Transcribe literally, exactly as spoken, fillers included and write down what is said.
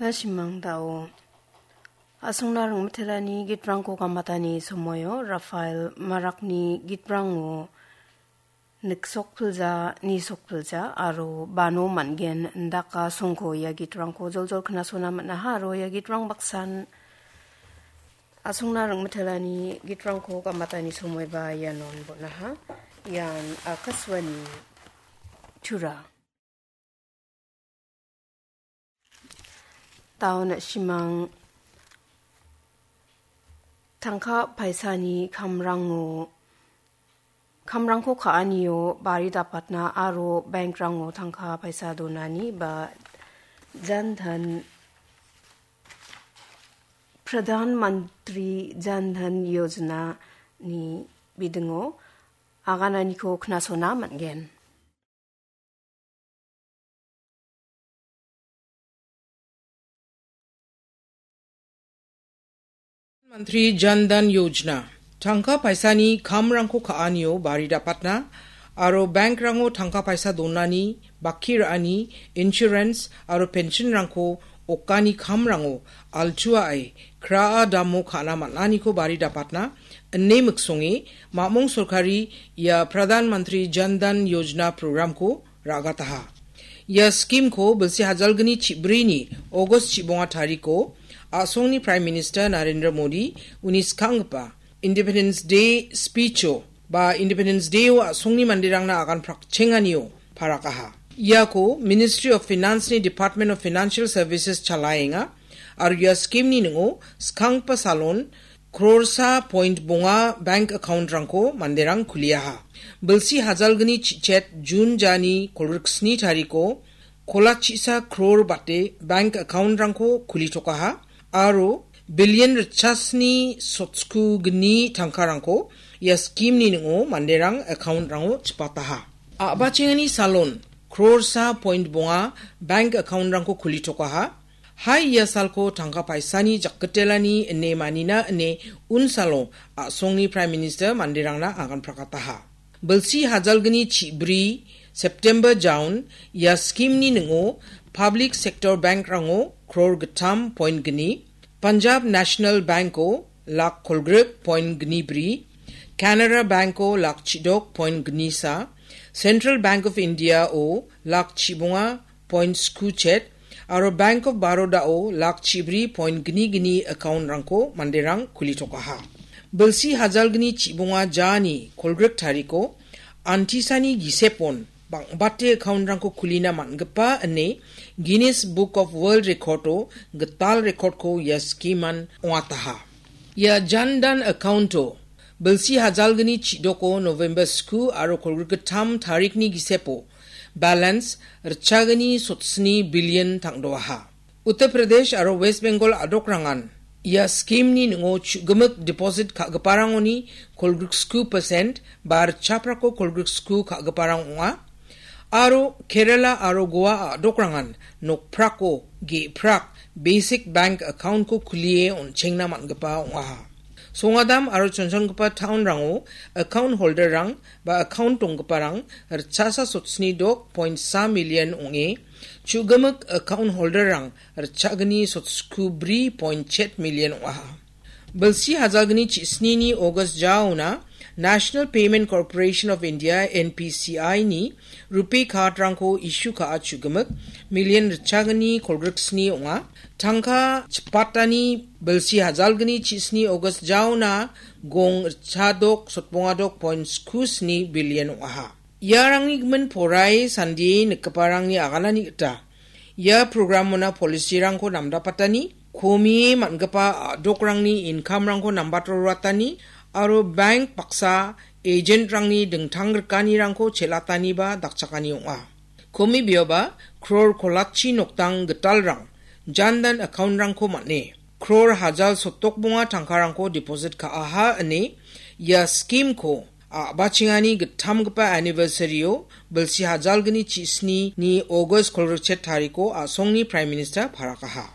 Na·simang dao. A·songna ringmitelani gitrangko gamatani somoio Rafael Marakni gitrango niksokpilja, nisokpilja aro bano man·gen indaka songko ia gitrangko joljol knasona man·aha aro ia gitrang baksan a·songna ringmitelani gitrangko gamatani somoiba ianon bon·aha. Ian Akashvani Tura. Dao na·simang tangka paisani kamrango, kamrangko ka·anio bari dapatna aro bankrango tangka paisa donani ba Jan Dhan, Pradhan Mantri Jan Dhan Yojana ni bidingo agananiko knasona man·gen. Mantri Jan Dhan Yojana, tangka paisani kamrangko ka·anio bari dapatna aro bankrango tangka paisa donani, baki ra·ani, insurance aro pensionrangko okani kamrango altuae kraa damo ka·na man·aniko bari dapatna ine miksonge mamong sorkari ia Pradhan Mantri Jan Dhan Yojana programko ra·gataha. Ia skimko bilsi hajalgni chibrini August chibonga tariko a·songni Prime Minister Narendra Modi uni skanggipa Independence Day speecho ba Independence Dayo a·songni manderangna agan prakchenganio parakaha. Iako Ministry of Finance-ni Department of Financial Services chalaenga aro ia skimni ning·o skanggipa salon krorsa point bonga bank account-rangko manderang kuliaha. Bilsi hajalgni chichet Jun jani kolgriksni tariko kolachisa kror bate bank account-rangko kulitokaha aro billion ritchasni sotsku gni tangkarangko ia skimni ning·o manderang account-rango chipataha. A·bachengani salon krorsa point bonga bank account-rangko kulitokaha. Hai ia salko tangka paisani jakgitelani ine manina ine unsalo a·songni Prime Minister manderangna agan prakataha. Bilsi hajalgni chibri September jaon ia skimni ning·o public sector bankrango kror gittam point gni, Punjab National Banko lak kolgrik point gni bri, Canara Banko lak chidok point gni sa, Central Bank of Indiao lak chibonga point sku chet aro Bank of Barodao lak chibri point gni gni account-rangko manderang kulitokaha. Bilsi hajalgni chibonga jani kolgrik tariko antisani gisepon bang·bate account-rangko kulina man·gipa ine Guinness Book of World Record-o gital record-ko ia skiman ong·ataha. Ia Jan Dhan account-o bilsi hajalgni chidoko November sku aro kolgrik gittam tarikni gisepo balance ritchagni sotsni billion tangdoaha. Uttar Pradesh aro West Bengal a·dokrangan ia skimni ning·o chu·gimik deposit ka·giparangoni kolgriksku percent ba ritchaprako kolgriksku ka·giparang ong·a. Aro Kerala aro Goa a·dokrangan nokprako ge·prak basic bank account-ko kulie on·chengna man·gipa ong·aha. Songadam aro chonchongipa town-rango account holder-rang ba account donggiparang ritchasa sotsni dok point sa million ong·e, chu·gimik account holder-rang ritchagni sotsku bri point chet million ong·aha. Bilsi hajalgni chisnini August jaona National Payment Corporation of India, N P C I-ni RuPay card-rangko issue ka·a chu·gimik million ritchagni kolgriksni ong·a. Tangka chipatani bilsi hajalgni chisni August jaona gong ritchadok sotbongadok point sku sni billion ong·aha. Iarangni gimin porai sandie nikgiparangni aganani gita ia programona policy-rangko namdapatani, komie man·gipa a·dokrangni income-rangko nambato roatani aro bank baksa agent-rangni dingtang rikanirangko chelataniba dakchakani ong·a. Komibioba kror kolatchi noktang gitalrang Jan Dhan account-rangko man·e, kror hajal sotdok bonga tangkarangko deposit ka·aha ine ia scheme-ko a·bachengani gittamgipa anniversary-o bilsi hajalgni chisnini August kolgrikchet tariko a·songni Prime Minister parakaha.